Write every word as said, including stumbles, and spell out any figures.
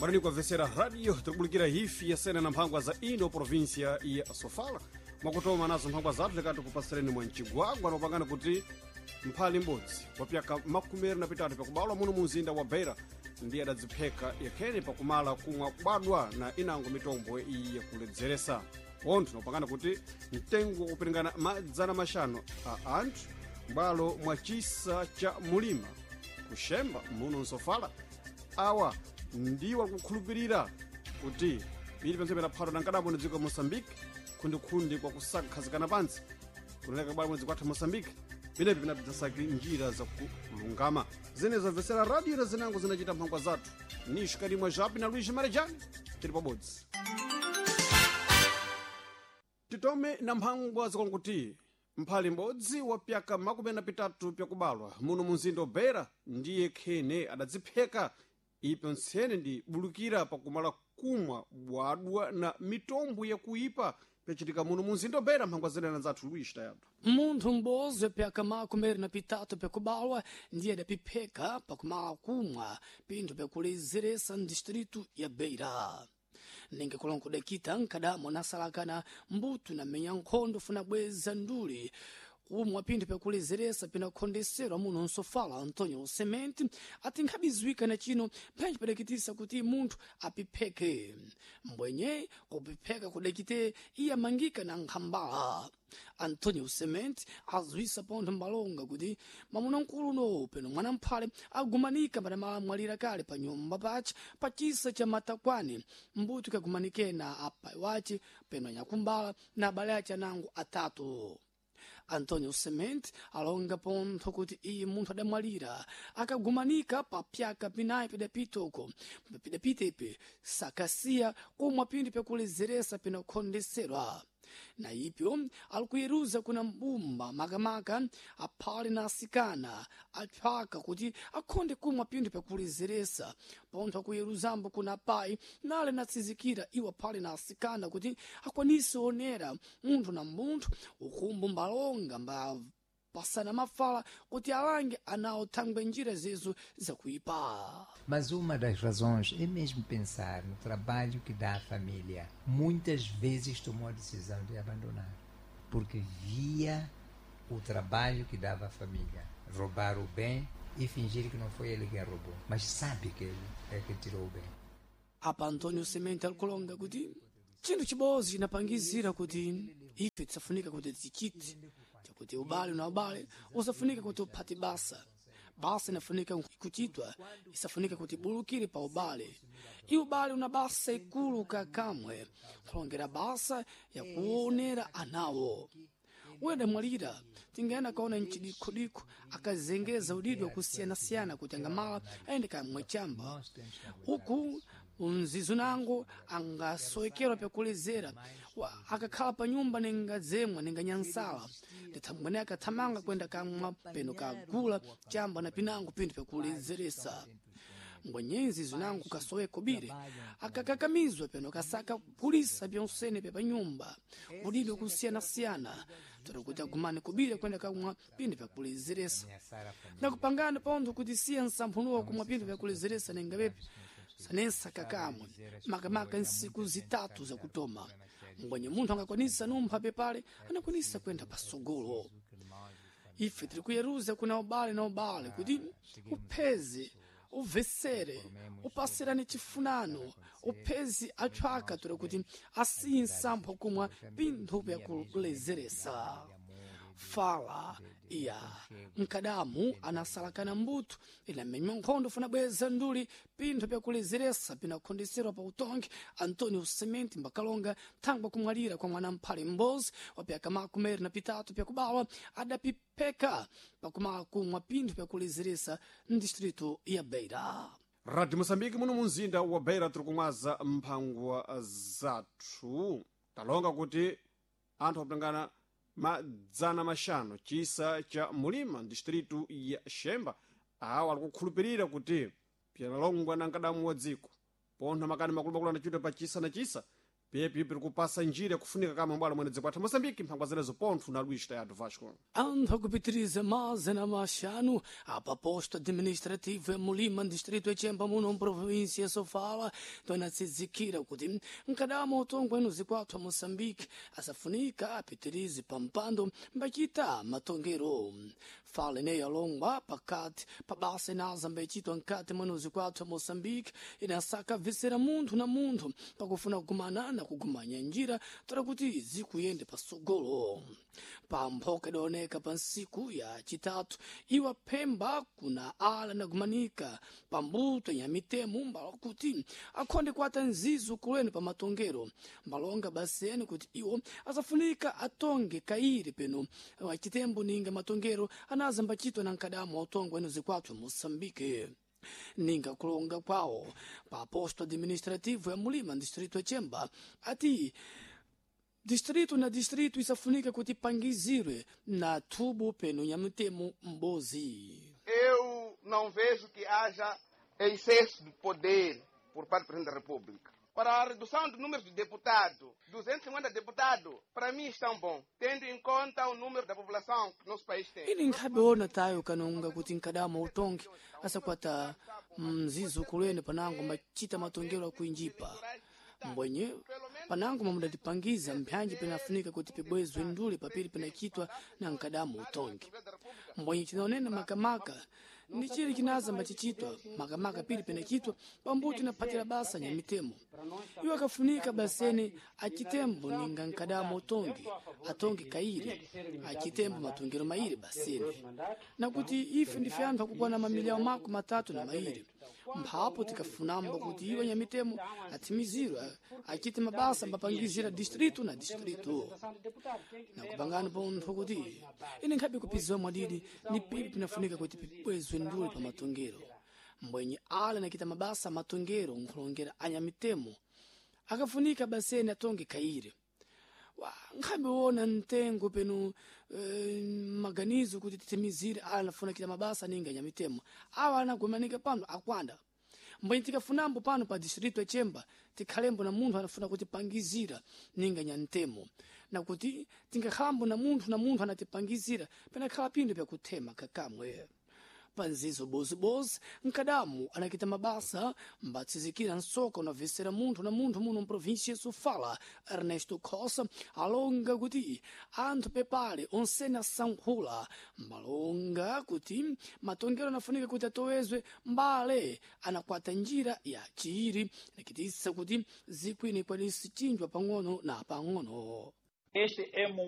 Bwanani kuamvesera radio tikubulikira hifi yasena na mphangwa za ino provinsia ya Sofala. Mwakutoma nazo mphangwa zathu likati kupasireni mwa mcigwagwa nopangana kuti mphali m'bodzi wa pyaka makumi na pitatu pakubalwa muno mu mzinda wa Beira ndiye adadzipheka yakhene pakumala kumwa kubadwa na inango mitombo iyi yakuledzeresa. Pontho nopangana kuti mtengo wakupiringana madzana maxanu a anthu m'bwalo mwa chisa cha mulima kuxemba muno msofala awa ndiwo akukhulupirira kuti pili pamene phato na nkadabo na dziko la Moçambique khundikhundi kwa kusakhazikana pantsi kunaleka bwalo mwezi kwatha Moçambique pinepi pinabzasaki njira zakulungama zene zamvesera radio na zinango zinachita mphangwa zathu nixo kalimwa japi na Luiz Marejani tili pabodzi. Titome na mphangwa zikonkuti mphali m'bodzi wa pyaka makumi na pitatu pyakubalwa muno mu mzinda wa Beira ndiye khene adadzipheka ipo ntsene ndi bulukira pakumala kumwa bwadwa na mitombo yakuipa pyacitika muno mu mzinda wa Beira. Mphangwa zenena zathu Luiz Tayado. Munthu m'bodzi pyaka makumi na pitatu pyakubalwa ndiye adapipheka pakumala kumwa pinthu pyakulezeresa mdistritu ya Beira. Ninga kulongo dakita nkadamo anasalakana mbuto na menya nkhondo funa bweza nduli kumwa pinthu pyakulezeresa pinakhondeserwa muno nsofala. Antonio Semente ati nkhabiziwika na chino mphenji padakitisa kuti munthu apipheke mbwenye kupipheka kudakite iye amangika na nkhambala. Antonio Semente aziwisa pontho mbalonga kuti mwamuna mkulu peno mwana mphale agumanika padamala mwalira kale pa nyumba pace pa chisa cha matakwani mbuto ikagumanike na apai wace peno anyakumbala na abale ace anango atatu. Antonio Semente alonga pontho kuti iye munthu adamwalira akagumanika pa pyaka pinayi pidapita uko pidapitepe sakasiya kumwa pinthu pyakulezeresa pinakhondeserwa. Na ipyo alikuyeruza kuna mbumba makamaka aphale na asikana aphaka kuti akhonde kumwa pinthu pyakulezeresa. Pontho akuyeruzambo kuna apayi nale natsizikira iwo aphale na asikana kuti akwanise onera munthu na munthu ukumbu mbalonga mba pasana mafala kuti alange anawo thangwe njira zezo zakuipa. Mas uma das razões é mesmo pensar no trabalho que dá à família. Muitas vezes tomou a decisão de abandonar, porque via o trabalho que dava à família. Roubar o bem e fingir que não foi ele quem roubou, mas sabe que ele é que tirou o bem. Apa Antonio Semente alikulonga kuti chinthu chibodzi chinapangizira kuti ife tisafunika kuti tichite chakuti ubale na ubale usafunika kuti uphate basa basa inafunika kuchitwa isafunika kuti bulukire pa ubale. I ubale una basa ikulu kakamwe kulongera basa yakuonera anawo. Uyo adamwalira tingayenda kaona mchidikhodikho akazengeza udidwe kusiyana-siyana kuti angamala ayende kamwe chamba uku mzizo nango angasowekerwa pyakulezera akakhala pa nyumba ningadzemwa ninganyansala ndithambwene akathamanga kwenda kamwa peno kagula chamba na pinango pinthu pyakulezeresa. Mbwenyenzi zinango kasoweko bire akakakamizwa peno kasaka kulisa pyonsene pya panyumba udidwe kusiyana-siyana toti kuti agumane kubire kwenda kamwa pinthu pyakulezeresa. Ndakupangana pontho kuti siya nsamphunuwa kumwa pinthu pyakulezeresa ningapepi sanensa kakamwe makamaka nsiku zitatu zakutoma mbwenye munthu angakwanisa numpha pepale anakwanisa kwenda pasogolo. Ife tiri kuyeruza kuna ubale na ubale kuti upheze ubvesere upasirane chifunano uphezi atchwaka tora kuti asiye nsampho kumwa pinthu pyakulezeresa. Fala iya mkadamu anasalakana mbuto inamenywa nkhondo funa bweza nduli pinthu pyakulezeresa pinakhondeserwa pa utongi. Antonio Semente mbakalonga thangwa kumwalira kwa mwana mphale m'bodzi wa pyaka makumi na pitatu pyakubalwa adapipheka pakumala kumwa pinthu pyakulezeresa mdistritu ya Beira. Radio Moçambique muno mu mzinda wa Beira tiri kumwaza mphangwa zathu talonga kuti anthu akutangana madzana maxanu chisa cha mulima distritu ya Xemba awa alikukhulupirira kuti pyalongwa na nkadamu wa dziko pontho makani makulumakulu anachita pa chisa na chisa Pyepi piri kupasa njira yakufunika kama mbwalo mwene dziko athu Moçambique mphangwa zilezo pontho na Luís Tayado Vasco. Anthu akupitiriza mazana maxanu apa posto administrativo ya Mulima, distrito ya Chemba, muno mprovíncia ya Sofala, tonatsizikira kuti mkadamo utongwe enu zikwathu a Moçambique asafunika apitirize pampando mbachita matongero. Fala ineyo alongwa pakati pa basa inaza mbechitwa nkati mwenu zikwathu a Moçambique inasaka visera munthu na munthu pakufuna kugumana na kugumanya njira tola kuti zikuyende pasogolo. Pamphoka idaoneka pa nsiku ya chitatu iwa phemba kuna ala nagumanika pambuto ya mitemo mbalo kuti akhonde kuata nzizo kulweni pa matongero mbalonga baseni kuti iwo asafunika atonge kairi peno achitembo ninga matongero anaza mbachitwa na nkadamu wa utongo enu zikwathu Moçambique. Ninga kulonga kwawo pa posto administrativo ya Mulima, distrito ya Chemba, ati distrito na distrito isafunika kuti pangizirwe na thubo peno ya mtemo mbozi. Eu não vejo que haja excesso de poder por parte do Presidente da República. Para a redução do número de deputados, duzentos e cinquenta deputados, para mim estão bom, tendo em conta o número da população que nosso país tem. Ini nkhabe ona tayo kanonga kuti nkadama utongi asakwata mzizo kulweni panango machita matongero akuinjipa mbwenye panango mamudatipangiza mphanji penafunika kuti pibwezwe ndule papiri penachitwa na nkadamu utongi mbwenye chinaonena makamaka ndi chili chinaza mbachichitwa makamaka pili penachitwa pambuto inaphatira basa nyamitemo iwo akafunika baseni achitembo ninga nkadamu utongi atongi kairi achitembo matongero mairi baseni nakuti ife ndife anthu akukwana mamiliyoni mako matatu na mairi mphapo tikafunambo kuti iwo nyamitemo athimizirwe achite mabasa mbapangizira distrito na distrito nakupangani pontho kuti ine nkhabe kupiziwa mwadidi ni pili pinafunika kuti pibwezwe ndule pa matongero mbwenye ale nakita mabasa matongero nkhulongera anyamitemo akafunika baseni atonge kaire wa nkhabe wona mtengo peno eh, maganizo kuti titimizire ala nafuna kita mabasa ninga nyamitemo awa anagumanika pano akwanda mbwenye tikafunambo pano pa distrito ya Chemba tikhalembo na munthu anafuna kutipangizira ninga nyantemo nakuti tingakhalambo na munthu na munthu anatipangizira penakhala phindu pyakuthema kakamwe panzizo bozibozi nkadamu anakita mabasa mbatsizikira nsoka unavesera munthu na munthu muno mprovinsia ya Sofala Ernesto Cossa alonga kuti anthu pepale onsene asankhula mbalonga kuti matongero anafunika kuti atowezwe mbale anakwata njira ya chiiri nakitisa kuti zikwini kwanisi chinjwa pang'ono na pang'ono. Este é